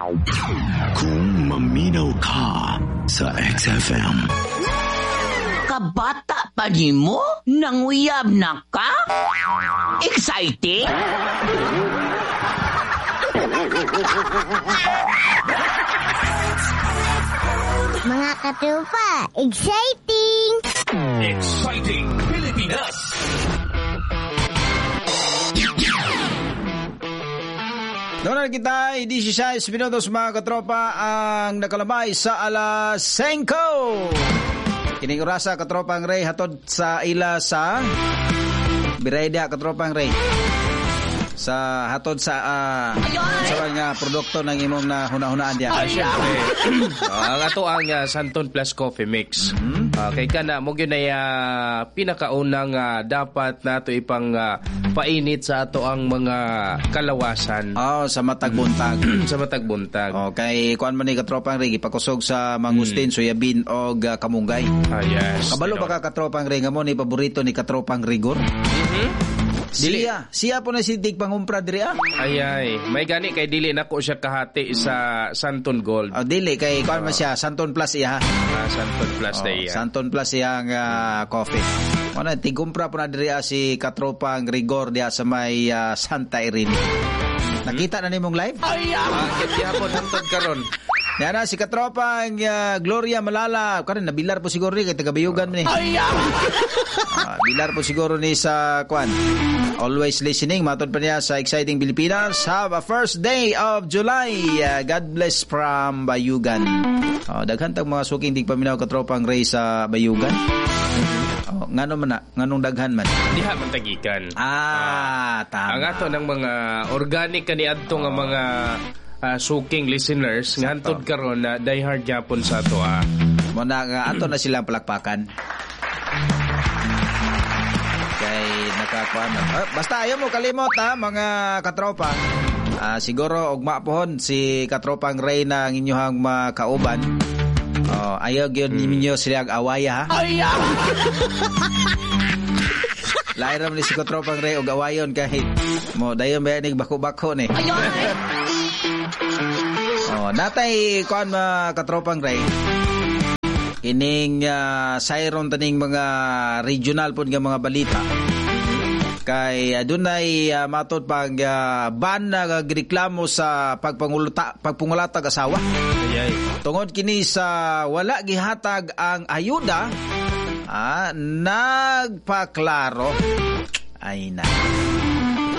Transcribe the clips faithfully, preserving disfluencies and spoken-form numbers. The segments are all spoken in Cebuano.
Kung maminaw ka sa X F M. Kabata pa nimo? Nanguyab na ka? Exciting? Mga katropa, exciting! Exciting Pilipinas! Doon na kita, sixteen minutos, mga katropa, ang nakalabay sa alas singko. Kining orasa, katropang Ray, hatod sa ila sa Birayda, katropang Ray. Sa hatod sa uh, sa nga produkto ng imong na huna-hunaan diya. Ah, syempre. Ang ato ang uh, Santon Plus Coffee Mix. Mm-hmm. Uh, kay kana mo gyud ay uh, pinakaunang uh, dapat nato ipang uh, painit sa ato ang mga kalawasan. Oh, sa matag buntag. Sa matag buntag. Okay, kuan man ni katropang Ray, ipakusog sa mangustin, mm. soyabin og uh, kamunggay. Ah, yes. Kabalo ba ka, katropang Ray, nga mo ni paborito ni katropang Rigor? Mhm. Dili. Siya, siya po na si Dig pangumpra diri ah. Ay ay, may gani kay dili nako siya kahati sa Santon Gold. Oh, dili kay kuan man siya Santon Plus iya. Ah, Santon Plus oh, na iya. Santon Plus iya ang uh, coffee. Ano, tigumpra po na diri ah, si Katropang Rigor diha sa may uh, Santa Irene. Nakita na nimong live? Ay, ah, gyapon hantod karon. Yan na, si Katropang uh, Gloria Malala. Karon nabilar po siguro ni kay taga-Bayugan ni. Ay, ah. Uh, bilar po siguro ni sa kwan. Always listening, matod pa niya sa Exciting Pilipinas. Have a first day of July. Uh, God bless from Bayugan. Uh, daghan tag mga suking dig paminaw Katropang Ray sa Bayugan. Oh, ngano man na, nganong daghan man. Diha man tagikan. Ah, tama. Ang ato ng mga organic kaniadto nga mga Uh, suking listeners nga hantod karon na die hard gyapon sa ato ah. Mo na nga ato na silang palakpakan. Kay nakakuan. Uh, basta ayaw mo kalimot ha mga katropa. Uh, siguro ugma pohon si katropang Ray na ang inyuhang makauban. Oh, ayaw gyud hmm. ninyo sila awaya ha. Ayaw. Lain ra man ni si katropang Ray og awayon kahit mo dayon ba nig bako-bako ni. Ayaw. Oh, natay kuan mga katropang Ray. Kining uh, sayron taning mga regional pod nga mga balita. Kay uh, dunay uh, matod pag uh, ban na greklamo sa pagpangulata pagpangulatag asawa. Ayay. Tungod kini sa wala gihatag ang ayuda, ah, nagpaklaro. Ay na.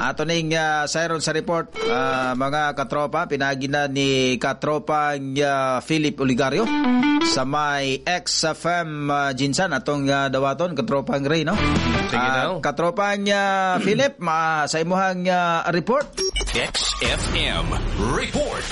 Ato ning uh, sayron sa report uh, mga katropa, pinagi na ni katropang uh, Philip Oligario sa may X F M uh, Jinsan atong uh, dawaton katropang Ray, no? Sige uh, daw. Katropang uh, Philip, ma sa imuhang uh, report. X F M Report.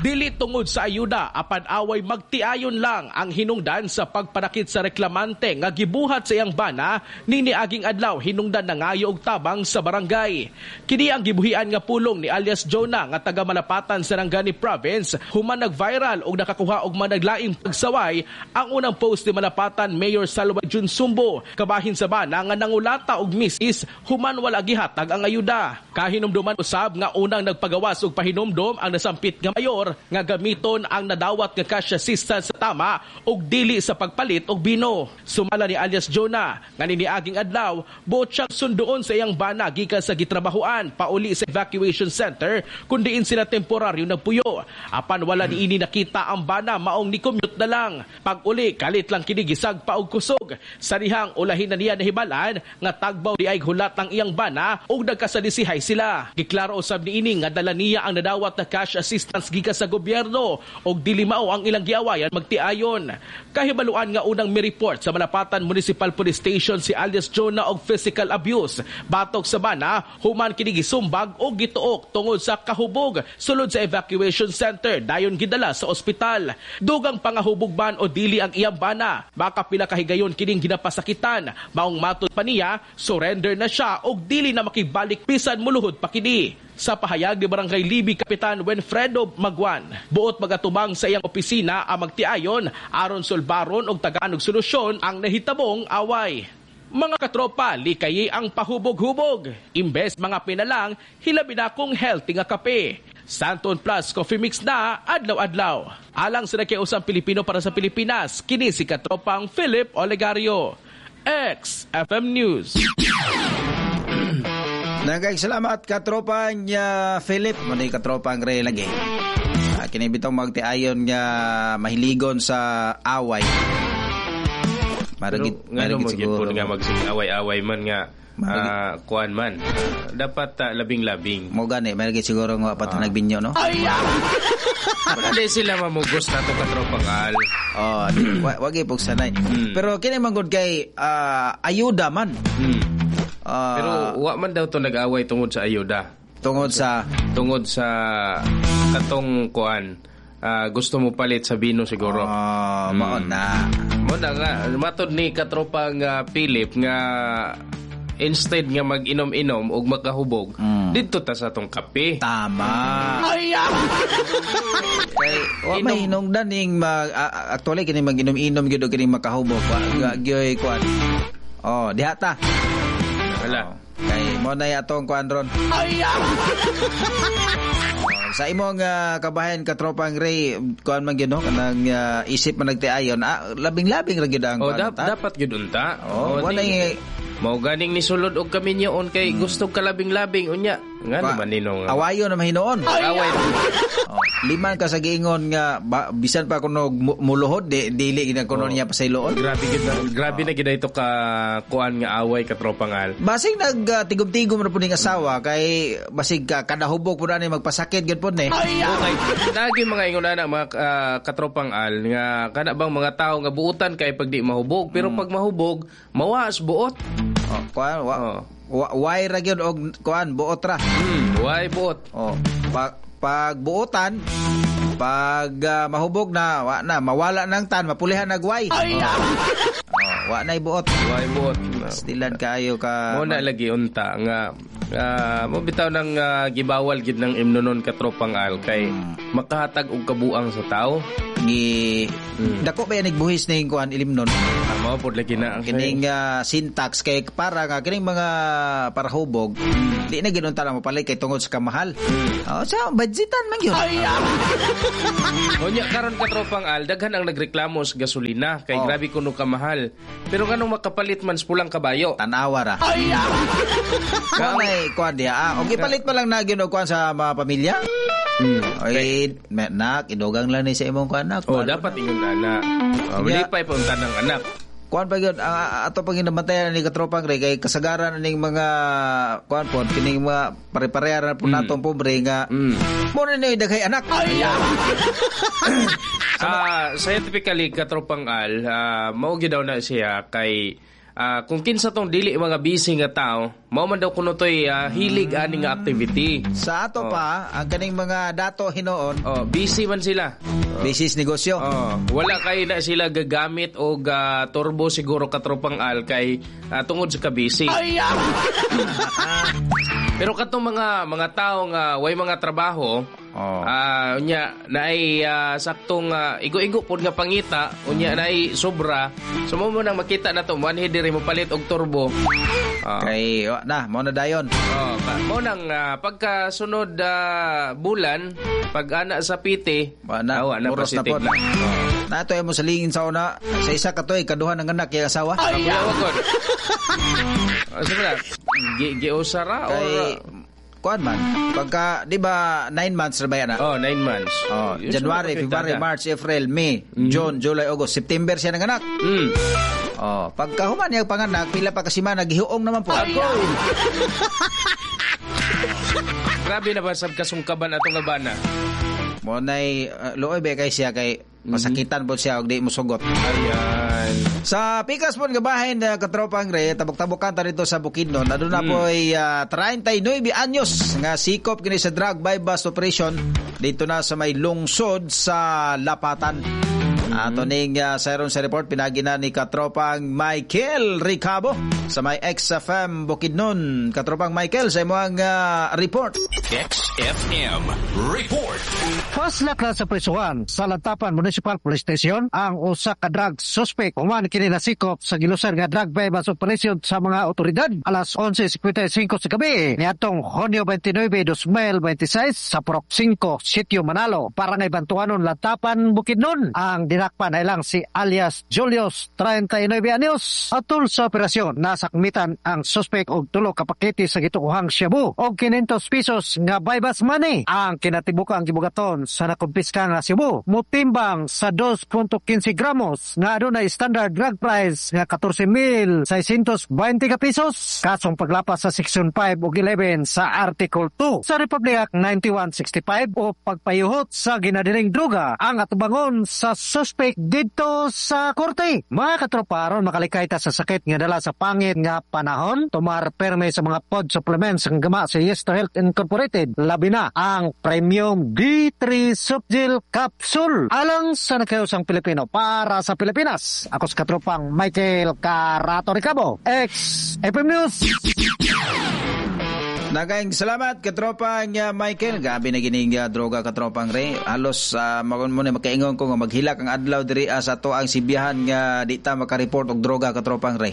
Dili tungod sa ayuda apan away magtiayon lang ang hinungdan sa pagpanakit sa reklamante nga gibuhat sa iyang bana nini aging adlaw hinungdan na ngayo og tabang sa barangay. Kini ang gibuhian nga pulong ni alias Jonah nga taga Malapatan, Sarangani Province human nag-viral og nakakuha og managlaing pagsaway ang unang post ni Malapatan Mayor Salwa Jun Sumbo kabahin sa bana nga nangulata og misis human wala gihatag ang ayuda. Kahinumduman usab nga unang nagpagawas og pahinumdom ang nasampit nga mayor nga gamiton ang nadawat nga cash assistance sa tama ug dili sa pagpalit og bino. Sumala ni alias Jonah nga niniaging adlaw buot siyang sunduon sa iyang bana gikan sa gitrabahoan pauli sa evacuation center kun diin sila temporaryo nagpuyo. Apan wala niini nakita ang bana maong ni-commute na lang. Pag-uli kalit lang kini gisag pa og kusog. Sa dihang ulahin na niya nahibalan nga tagbaw di ay hulat ang iyang bana ug nagkasalisihay sila. Giklaro usab niini nga dala niya ang nadawat na cash assistance gikan sa gobyerno og dili mao ang ilang giawayan magtiayon. Kahibaluan nga unang mi-report sa Malapatan Municipal Police Station si alias Jonah og physical abuse batok sa bana human kini gisumbag og gituok tungod sa kahubog sulod sa evacuation center dayon gidala sa ospital. Dugang pangahubog ban o dili ang iyang bana makapila kahigayon kining ginapasakitan maong matud pa niya surrender na siya og dili na makibalik bisan muluhod pa kini. Sa pahayag ni Barangay Libi Kapitan Wenfredo Magwan, buot magatubang sa iyang opisina ang magtiayon aron sulbaron og tagaan og solusyon ang nahitabong away. Mga katropa, likayi ang pahubog-hubog. Imbes mga pinalang, hilabi na kung healthy nga kape. Santon Plus Coffee Mix na adlaw-adlaw. Alang sa nakiusang Pilipino para sa Pilipinas, kini si Katropang Philip Olegario. X F M News. Nagay salamat katropa niya Philip, mo ni katropang Ray lagi. Uh, kini bitong magtiayon nga mahiligon sa away. Maragit, ngano mo gyud pud nga magsig away-away man nga uh, kuan man. Uh, dapat uh, labing-labing. Mo gani, maragit siguro nga pa uh, nagbinyo no. Ay. Wala di sila mamugos na to katropang Al. Oh, wa, wagi pugsanay. Hmm. Pero kini man gud kay uh, ayuda man. Hmm. Uh, Pero wa man daw to nag-away tungod sa ayuda. Tungod sa tungod sa katong kuan. Uh, gusto mo palit sa bino siguro. Oh, mm. Mao na. Mao na nga matod ni katropang uh, Philip nga instead nga mag-inom-inom og makahubog, mm. didto ta sa atong kape. Tama. Ay. Kay wa may hinungdan ning mag uh, actually kini mag-inom-inom gyud og kini makahubog. Wa gyoy kuan. Oh, diha ta. Wala. Oh, kay mo na atong kuan ron. Ay. Oh, sa imong uh, kabahin katropang Ray, kuan man gyud no kanang uh, isip man nagtiayon, ah, labing-labing ra gyud ang oh, kuan. Dap, dapat gyud unta. Oh, oh wala mao ganing ni sulod og kaminyoon kay hmm. gusto ka labing-labing unya. Nga naman nino nga. Awayo na mahinuon. Away. Oh, liman ka sa giingon nga ba, bisan pa kuno muluhod di, dili gid kuno oh. niya pasayloon. Grabe gid grabe oh. na gid ito ka kuan nga away katropang Al. Basig nagtigom-tigom uh, ra pud ning asawa kay basig ka kada hubog pud ani magpasakit gid pud ni. Okay. Nagi mga ingon ana mga uh, katropang Al nga kana bang mga tawo nga buutan kay pag di mahubog pero hmm. pag mahubog mawaas buot. Oh, kuan wa, oh. wa why ra gyud og kuan buot ra. Hmm, why buot? Oh, pag pag buotan, pag uh, mahubog na, wa na mawala nang tan, mapulihan nag way. Ay. Oh. Oh, wa na buot. Why buot? Stilan kaayo ka. Mo na lagi unta nga uh, mo bitaw nang uh, gibawal gid ng imnonon katropang Al kay hmm. makahatag og kabuang sa tao. Gi hmm. dako ba yan nagbuhis ning kuan ilimnon? Mao pod lagi na kining uh, syntax kay para nga kining mga parahubog mm. di na ginunta na mopalit kay tungod sa kamahal. Mm. Oh, sa budgetan man gyud. Ay. Unya karon katropang Al, daghan ang nagreklamo sa gasolina kay oh. grabe kuno kamahal. Pero nganong makapalit man sa pulang kabayo? Tanawa ra. Ay. Kay kuan diha. Ah, og ipalit pa lang na gyud og kuan sa mga pamilya. Mm. Oy, nak, idugang lang ni sa imong kuan nak. Oh, dapat ingon ana. Oh, lipay pa unta ng anak. Kuan pa gyud ang ato pag ginabantayan ni katropang Ray kay kasagaran ning mga kuan pod kining mga pare-pareha po mm. natong pobre nga mm. mo na ni daghay anak. Ay. Ah, uh, scientifically katropang Al, uh, mao gyud daw na siya kay uh, kung kinsa tong dili mga busy nga tao, mao man daw kuno toy uh, hilig ani nga activity. Sa ato oh. pa ang kaning mga dato hinuon, oh, busy man sila. Oh. Busy sa negosyo. Oh, wala kay na sila gagamit og uh, turbo siguro katropang Al kay uh, tungod sa kabisi. Ay. Pero katong mga mga tao nga way mga trabaho, oh. Uh, unya naay uh, saktong uh, igo-igo pod nga pangita, unya naay sobra. So mo mo nang makita na to, manhi diri mo palit og turbo. Uh, kay oh, na mo na dayon. Oh, mo nang uh, pagkasunod uh, bulan, pag ana sa P T, wa na, awa na muros na pod. Na. Oh. Nato mo sa lingin sa una, sa isa ka toy kaduha ng anak kay asawa. Ay, uh, Gi giusara kay or kuan man pagka di ba nine months ra ba yan? Oh, nine months. Oh, January, February, March, April, May, mm. June, July, August, September siya nanganak. Mm. Oh, pagka human niya panganak, pila pa kasi man naghiuong naman po. Ako. Grabe na ba sab kasungkaban atong abana? Mo nay uh, luoy ba kay siya kay masakitan po siya og di mosugot. Ayan. Sa pikas po nga bahin uh, katropang Re, tabok-tabokan ta dito sa Bukidnon. Aduna mm. po'y uh, thirty-nine anyos nga sikop kini sa drug by bust operation dito na sa may lungsod sa Lapatan. Ato ning uh, sayron sa report pinagi na ni Katropang Michael Ricabo sa may X F M Bukidnon. Katropang Michael, sa imong uh, report. X F M Report. Paslak na sa prisuhan sa Lantapan Municipal Police Station ang usa ka drug suspect human kini nasikop sa gilusar nga drug buy-bust operation sa mga otoridad alas onse singkwenta y singko sa gabi niadtong Hunyo beinte-nuebe, dos mil beinte-sais sa Purok singko, Sitio Manalo, Barangay Bantuanon, Lantapan, Bukidnon. Ang dinakpan ay lang si alias Julius, treinta y nueve anyos. Atol sa operasyon, nasakmitan ang suspect og tulo ka pakete sa gituohang shabu og quinientos pesos nga buy-bust money. Ang kinatibukang gibugaton sa nakumpiska nga shabu motimbang sa dos punto quince gramos nga adunay standard drug price nga catorce mil seiscientos veinte ka pesos. Kasong paglapas sa Section five ug eleven sa Article two sa Republic Act ninety-one sixty-five o pagpayuhot sa ginadiling droga ang atubangon sa suspect didto sa korte. Mga katropa, aron makalikay ta sa sakit nga dala sa pangit nga panahon, tumar perme sa mga pod supplements ang gama sa Yes to Health Incorporated, labi na ang Premium D three Softgel Capsule. Alang sa nagkayosang Pilipino para sa Pilipinas, ako sa katropang Michael Carato Ricabo, X F M News. Nagaing salamat katropang uh, Michael. Gabi na gining uh, droga katropang Ray. Halos uh, magun mo na makaingon ko nga maghilak ang adlaw diri uh, sa to ang sibihan nga di ta makareport og droga katropang Ray.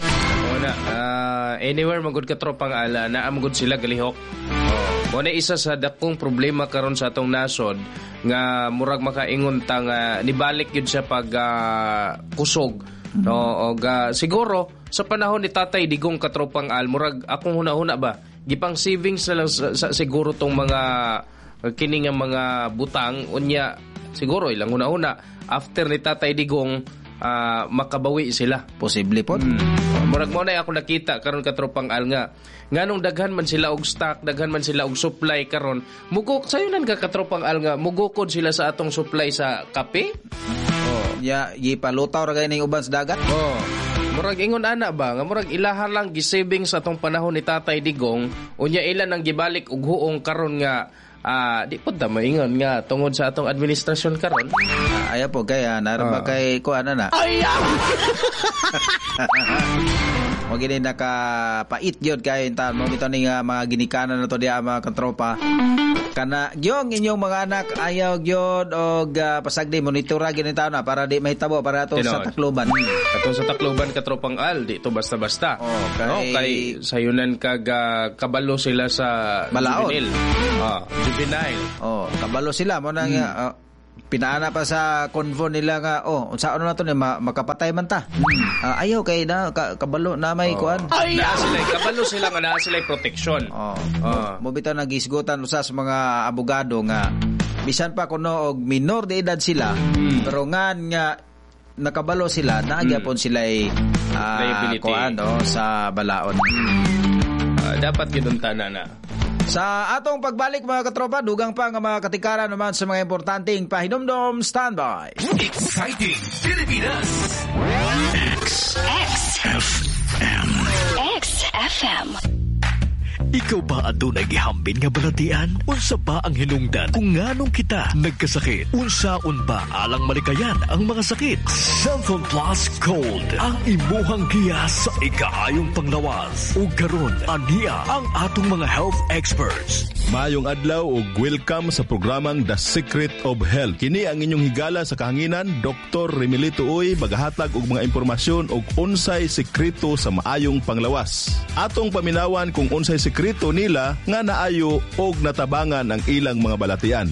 Una, uh, anywhere magud katropang ala naa magud sila galihok. Oh, mo na isa sa dakong problema karon sa atong nasod nga murag makaingon ta nga nibalik gyud siya pag uh, kusog. No, og uh, siguro sa panahon ni Tatay Digong katropang Al, murag akong huna-huna ba gipang savings na lang sa, sa, siguro tong mga kini nga mga butang unya siguro ilang huna-huna after ni Tatay Digong uh, makabawi sila. Posible po. Mm. Murag mo na ako nakita karon katropang Al nga nganong daghan man sila og stock, daghan man sila og supply karon. Mugok sayunan ka katropang Al nga mugukod sila sa atong supply sa kape. Oh, ya gipalutaw ra kay ning uban sa dagat. Oh. Murag ingon ana ba nga murag ilaha lang gisaving sa atong panahon ni Tatay Digong unya ilan ang gibalik og huong karon nga uh, di pud ta maingon nga tungod sa atong administrasyon karon. Uh, ayaw po kay uh, naron ba uh. kay kuan na. Ayaw. Mo gini nakapait gyud kay intan mo bitaw ning uh, mga ginikanan nato diha mga katropa. Kana gyong inyong mga anak ayaw gyud og uh, pasagdi monitora gyud taon na para di mahitabo para ato sa Tacloban. Atong sa Tacloban katropang Al, di to basta-basta. Oh, kay, no, kay sayunan kag uh, kabalo sila sa Balaod. Juvenile. Ah, juvenile. Oh, kabalo sila mo na hmm. uh, pinaana pa sa convo nila nga oh unsaon na to ni ma- makapatay man ta. Hmm. Uh, ayaw kay na ka- kabalo na may oh. kuan. Naa sila kabalo sila nga naa sila protection. Oh. Oh. Mo bitaw nagisgutan usa sa mga abogado nga bisan pa kuno og minor de edad sila hmm. pero ngan nga nakabalo sila naa gyapon hmm. sila uh, kuan oh, sa balaod. Hmm. Uh, dapat gyud unta na na. Sa atong pagbalik mga katropa, dugang pa nga mga katikaran naman sa mga importanteng pahinumdom. Standby. Exciting Pilipinas. X X F M. X F M. Ikaw ba adunay gihambin nga balatian? Unsa ba ang hinungdan kung nganong kita nagkasakit? Unsaon ba alang malikayan ang mga sakit? Xanthone Plus Gold ang imuhang giya sa ikaayong panglawas. Ug karon aniya ang atong mga health experts. Maayong adlaw ug welcome sa programang The Secret of Health. Kini ang inyong higala sa kahanginan, Doktor Remilito Uy, magahatag og mga impormasyon og unsay sekreto sa maayong panglawas. Atong paminawan kung unsay sekreto nila nga naayo og natabangan ang ilang mga balatian.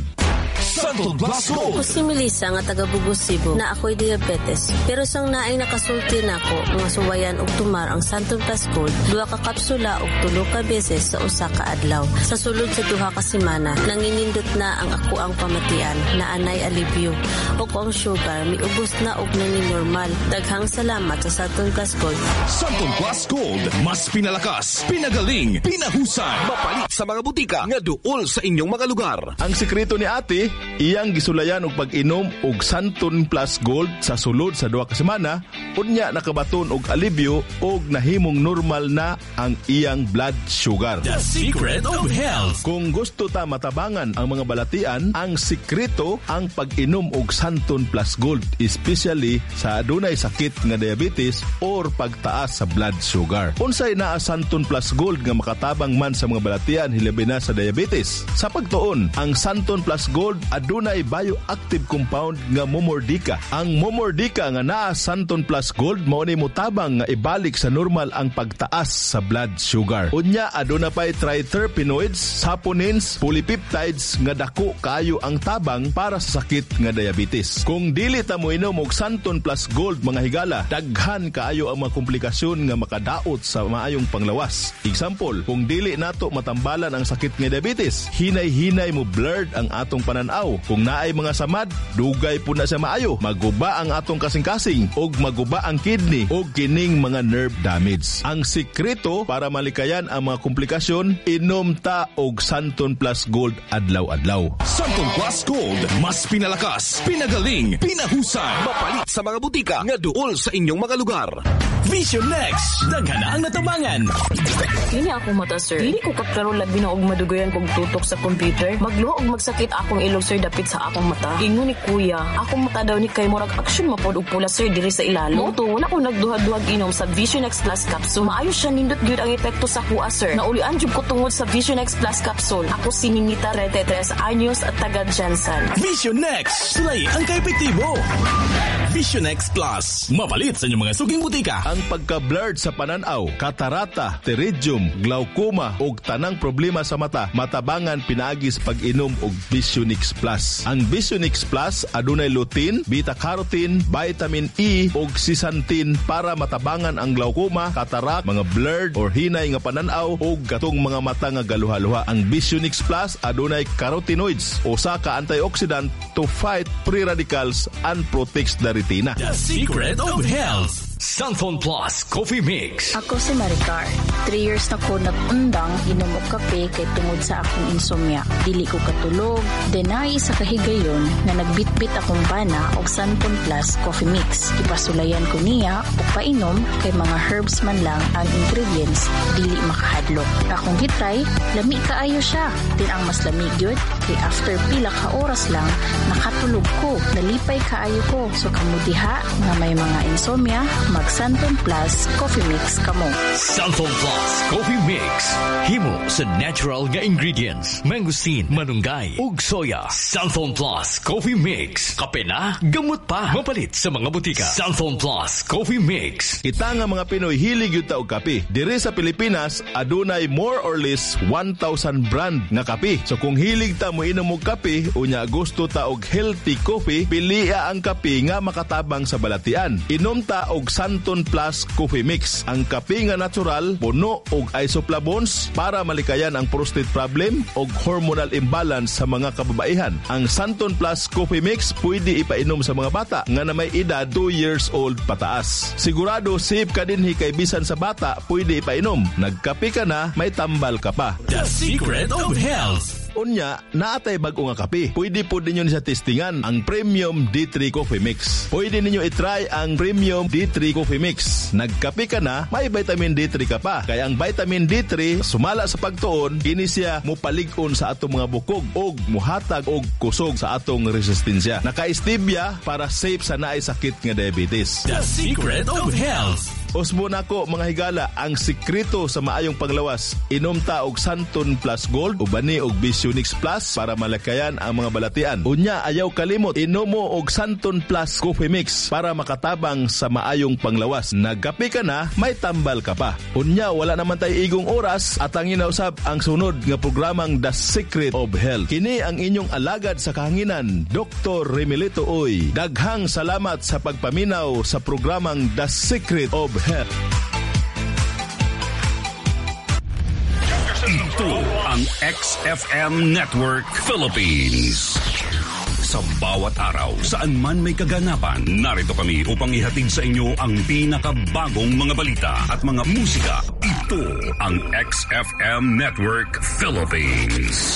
Xanthone Plus Gold. Ako si Melissa nga taga Bugos, Cebu na ako'y diabetes. Pero sang naay nakasulti nako nga suwayan og tumar ang Xanthone Plus Gold, duha ka kapsula og tulo ka beses sa usa ka adlaw. Sa sulod sa duha ka semana, nanginindot na ang ako ang pamatian na anay alibyo. Ug ang sugar miubos na og nangin normal. Daghang salamat sa Xanthone Plus Gold. Xanthone Plus Gold, mas pinalakas, pinagaling, pinahusay. Mapalit sa mga butika nga duol sa inyong mga lugar. Ang sekreto ni ate, Iyang gisulayan og pag-inom og Santon Plus Gold sa sulod sa duha ka semana, unya nakabaton og alibyo og nahimong normal na ang iyang blood sugar. The Secret of Health. Kung gusto ta matabangan ang mga balatian, ang sikreto ang pag-inom og Santon Plus Gold, especially sa adunay sakit nga diabetes or pagtaas sa blood sugar. Unsay naa Santon Plus Gold nga makatabang man sa mga balatian hilabi na sa diabetes? Sa pagtuon, ang Santon Plus Gold adunay bioactive compound nga Momordica. Ang Momordica nga naa Santon Plus Gold mao ni motabang nga ibalik sa normal ang pagtaas sa blood sugar. Unya aduna pay triterpenoids, saponins, polypeptides nga dako kaayo ang tabang para sa sakit nga diabetes. Kung dili ta moinom og Santon Plus Gold, mga higala, daghan kaayo ang mga komplikasyon nga makadaot sa maayong panglawas. Example, kung dili nato matambalan ang sakit nga diabetes, hinay-hinay mo blurred ang atong pananaw. Kung naay mga samad, dugay po na siya maayo. Maguba ang atong kasing-kasing og maguba ang kidney og kining mga nerve damage. Ang sikreto para malikayan ang mga komplikasyon, inom ta og Santon Plus Gold adlaw-adlaw. Santon Plus Gold, mas pinalakas, pinagaling, pinahusay. Mapalit sa mga butika nga duol sa inyong mga lugar. Vision Next, daghan na ang natabangan. Kini akong mata, sir. Dili ko kaklaro labi na og madugayan kog tutok sa computer. Magluho og magsakit akong ilong, sir, dapit sa akong mata. Ingon ni kuya, akong mata daw ni kay murag action mapod og pula, sir, diri sa ilalo. Mao to, wala ko nagduha-duhag inom sa Vision X Plus capsule. Maayo siya, nindot gyud ang epekto sa kuha, sir. Naulian jud ko tungod sa Vision X Plus capsule. Ako si Ninita, trentay tres anyos at taga GenSan. Vision Next, sulay ang kaepektibo. Vision X Plus, mapalit sa inyong mga suking butika. Ang pagka-blurred sa pananaw, katarata, pterygium, glaucoma ug tanang problema sa mata matabangan pinaagi sa pag-inom og Visionix Plus. Ang Visionix Plus adunay lutein, beta-carotene, vitamin E ug zeaxanthin para matabangan ang glaucoma, cataract, mga blurred or hinay nga pananaw ug katong mga mata nga galuha-luha. Ang Visionix Plus adunay carotenoids, usa ka antioxidant to fight free radicals and protects the retina. The Secret of Health. Santon Plus Coffee Mix. Ako si Maricar. Three years na ko nag-undang inom og kape kay tungod sa akong insomnia. Dili ko katulog. Then naay isa ka higayon nga nagbitbit akong bana og Santon Plus Coffee Mix. Ipasulayan ko niya og painom kay mga herbs man lang ang ingredients, dili makahadlok. Akong gitry, lami kaayo siya. Then ang mas lami gyud kay after pila ka oras lang nakatulog ko. Nalipay kaayo ko. So kamo diha nga may mga insomnia, mag Santon Plus Coffee Mix kamo. Santon Plus Coffee Mix. Himo sa natural nga ingredients. Mangosteen, malunggay, ug soya. Santon Plus Coffee Mix. Kape na, gamot pa. Mapalit sa mga butika. Santon Plus Coffee Mix. Kita nga mga Pinoy hilig gyud ta og kape. Diri sa Pilipinas adunay more or less one thousand brand nga kape. So kung hilig ta mo inom og kape unya gusto ta og healthy coffee, pilia ang kape nga makatabang sa balatian. Inom ta og Santon Plus Coffee Mix. Ang kape nga natural, puno og isoflavones para malikayan ang prostate problem og hormonal imbalance sa mga kababaihan. Ang Santon Plus Coffee Mix pwede ipainom sa mga bata nga na may edad two years old pataas. Sigurado safe ka dinhi kay bisan sa bata pwede ipainom. Nagkape ka na, may tambal ka pa. The Secret of Health. Unya, naatay bag-o nga kape. Pwede po ninyo sa testingan ang Premium D three Coffee Mix. Pwede ninyo itry ang Premium D three Coffee Mix. Nagkape ka na, may vitamin D three ka pa. Kaya ang vitamin D three, sumala sa pagtuon, kini siya mupalig-on sa atong mga bukog og muhatag og kusog sa atong resistensya. Naka-stevia para safe sa naay sakit nga diabetes. The Secret of Health. Usbo nako, mga higala, ang sikreto sa maayong panglawas. Inom ta og Santon Plus Gold ubani og Visionix Plus para malakayan ang mga balatian. Unya ayaw kalimot, inom mo og Santon Plus Coffee Mix para makatabang sa maayong panglawas. Nagkape ka na, may tambal ka pa. Unya wala naman tay igong oras at ang inausab ang sunod nga programang The Secret of Health. Kini ang inyong alagad sa kahanginan, Doctor Remilito Uy. Daghang salamat sa pagpaminaw sa programang The Secret of Health. Ito ang X F M Network Philippines. Sa bawat araw, saan man may kaganapan, narito kami upang ihatid sa inyo ang pinakabagong mga balita at mga musika. Ito ang X F M Network Philippines.